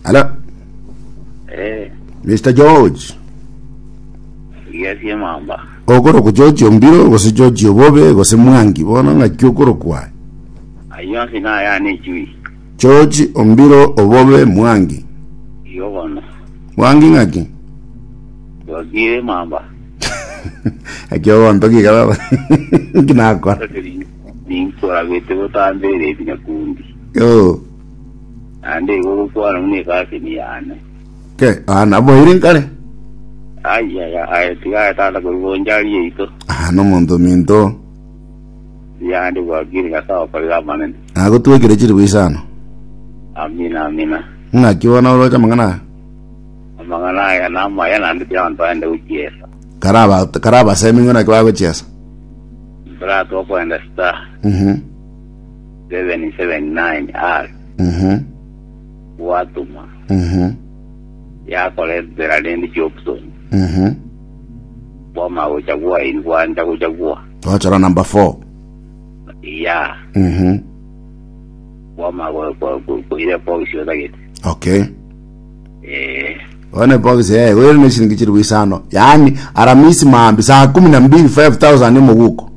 Hello, Eh, Mr. George. yes, mamba. Okorokwa George Ombiro gose George Obobe gose Mwangi bono ng'aki okorokwa aye? Ayio onsi nayane echui. George Ombiro Obobe Mwangi. Igo bono. Mwangi ng'aki? Twakire mamba. Eki ogonto kiga baba. Nki nakora? Ninkorabete botambereti nyakundi. Oh. Naende igo ogokwana buna ekaseni yane. Ke, ah, naboire nkare. Ai, ai, ai, tiga aye tata korwa bonchari yaito. Ah, nomonto ominto. Yande gwakire Nyasae okorire amanene. Nagotwekire chiribu isano. Amina, amina. Ng'aki bono oroche amang'ana aya? Amang'ana aya namaya naende tiga abanto bagende gochiesa. Karaba karabasemi ng'o naki bagochiesa. Brother okoenda star Mhm. 779 R Mhm. gwatoma Mhm. yakoretera rende chioption Mhm. kwama gochagua eri gwancha gochagua Twachora number 4. ya Mhm. kwama koira box otagete Okay. eh One box eh wewe ne shilingi chiribu isano. Yaani aramisi maambi saa 12 5000 omoguko.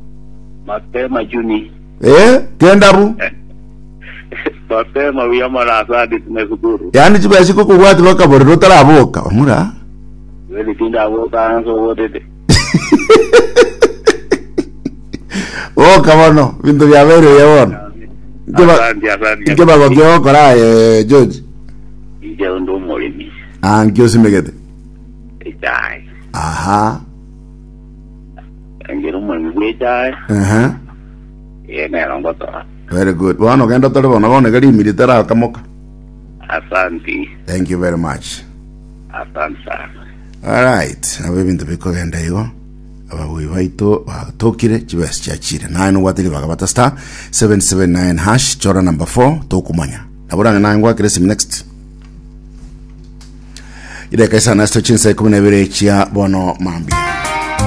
mapema juni Eh, kendabu. mapema buya mono asante tumeshukuru Yaani chibesa chikokobwati bakaborera otaraboka. Omura. Kweli tindaboka nse obotete Boka bono, binto biabeire buya bono. Nke ba- Asante, asante. Nke bagokia gokora aye George. Inche onde omoremi Ah, nki osimegete? echae Aha. engere omoremi bw'echae Aha. ee nero ngotora Very good. Bono genda tore bono bono iga rimiri terakamoka. Asanti. Thank you very much. Asante sana. Alright, nabo ebinto bikogenda igo. Ababui baito batokire chibesa chiachire. Naye nobwate ribaga bata star 779 hash chora number 4 tokumanya. Nabo range naye ngwakire esimu next. Ideka isana ase chinsa 12 chia bono mambia.